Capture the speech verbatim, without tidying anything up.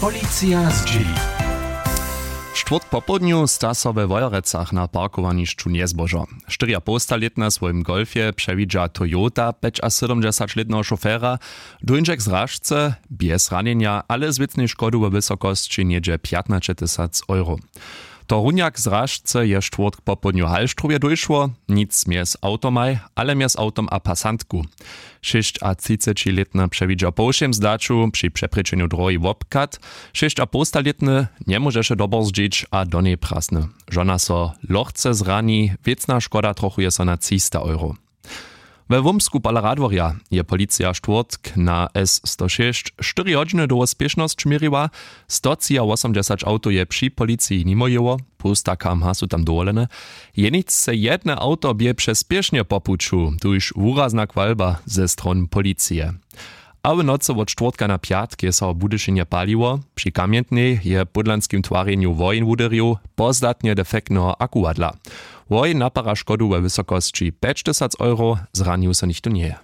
Policija zdźěli. Štwórtk popołdnju sta so we Wojerecach na parkowanišću njezbožo. Štyriapołstalětna w swojim Golfje přewidźa Toyota pjećasydomdźesaćlětneho šofera, dóńdźek z Rašce, bjez ranjenja, ale z wěcnej škodu we wysokosći něhdźe pjatnaćetysac euro. Torunjak z Rašce je štwórtk popołdnju w Halštrowje dóšło, nic mjez awtomaj, ale mjez awtom a pasantku. Šěsćatřicećilětna přewidźa po wšěm zdaću při přeprěčenju drohi wobchad, šěsćapołstalětny njemóžeše doborzdźić a do njej prasny. Žona so lochce zrani, wěcna škoda trochuje so na třista euro. We Wómsku pola Radworja je policija štwórtk na S sto šěsć štyri hodźiny dołho spěšnosć měriła. Stotřiawosomdźesać awtow je při policiji nimo jěło, połsta K M H su tam dowolene. Jeničce jedne awto bě přespěšnje po puću, tuž wurazna chwalba ze strony policije. A w nocy wot štwórtka na pjatk je so w Budyšinje paliło. Při kamjentnej je w pódlanskim twarjenju woheń wuderju, pozdatnje defektneho akuwadla. Woheń napara škodu we wysokosći pjećtysac euro, zranił so nichtó njeje.